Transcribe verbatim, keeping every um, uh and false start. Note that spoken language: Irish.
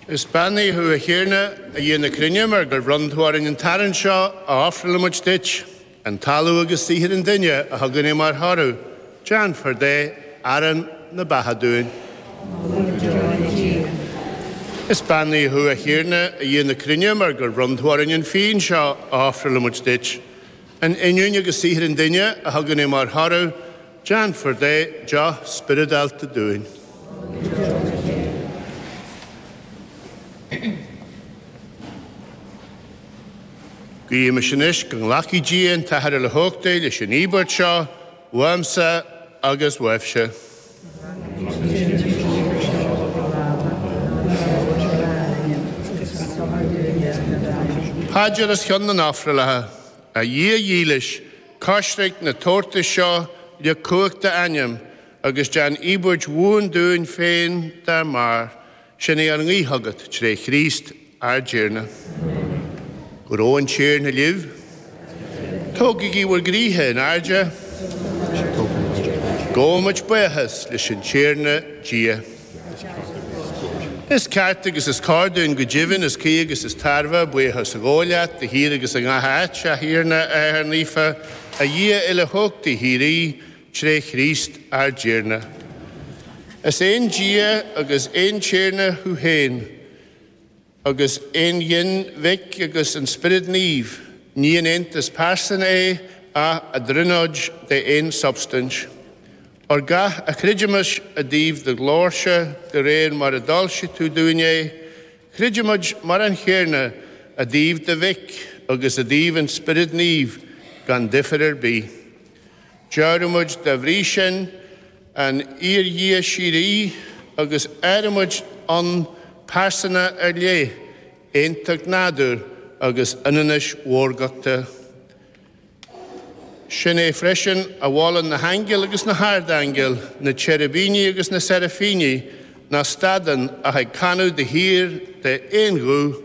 Is beannaithe thú, a Thiarna, a Dhia na cruinne, mar gur bhronn tú orainn an t-arán seo a ofrálaimid duit, an talamh agus saothar an duine a thugann é mar thoradh, déanfar de arán na beatha dúinn. Is beannaithe thú, a Thiarna, a Dhia na cruinne, mar gur bhronn tú orainn an fíon seo a ofrálaimid duit, an fhíniúin agus saothar an duine a thugann é mar thoradh, déanfar de deoch spioradálta dúinn. Guímis anois go nglacfaidh Dia an tAthair Uilechumhachtaigh leis an íobairt seo, uaimse agus uaibhse. Paidir os cionn na n-ofrálacha. A Dhia dhílis, coisric na tabhartais seo le cumhacht d'ainm, agus déan íobairt bhuan dúinn féin dá mbarr. Sin é ár nguí chugat tré Chríost ár dTiarna. Go raibh an Tiarna libh. Tógaigí bhur gcroíthe in airde. Gabhaimid buíochas leis an Tiarna Dia. Is ceart agus is cóir dúinn go deimhin, is cuí agus is tairbhe buíochas a ghabháil leat de shíor agus i ngach áit, a Thiarna, a Athair Naofa, a Dhia Uilechumhachtaigh shíoraí, tré Chríost ár dTiarna. Is aon Dia agus aon Tiarna thú féin, agus aon ghin Mhic agus an Spiorad Naomh, ní in aontas pearsan é ach a dtríonóid de aon substaint. Óir gach a chreidimis i dtaobh do ghlóirse de réir mar a d'fhoilsigh tú dúinn é, creidimid mar an chéanna i dtaobh do Mhic agus i dtaobh an Spioraid Naoimh gan difear ar bith. Deoraímid dá bhrí sin an fhíor-Dhia síoraí agus áirímid ann pearsana ar leith, aontacht nádúir agus ionannais mhórgachta. Sin é freisin a mholann na haingil agus na hardaingil, na cherubíní agus na seraphíní, nach stadann ach ag canadh de shíor de aon ghuth,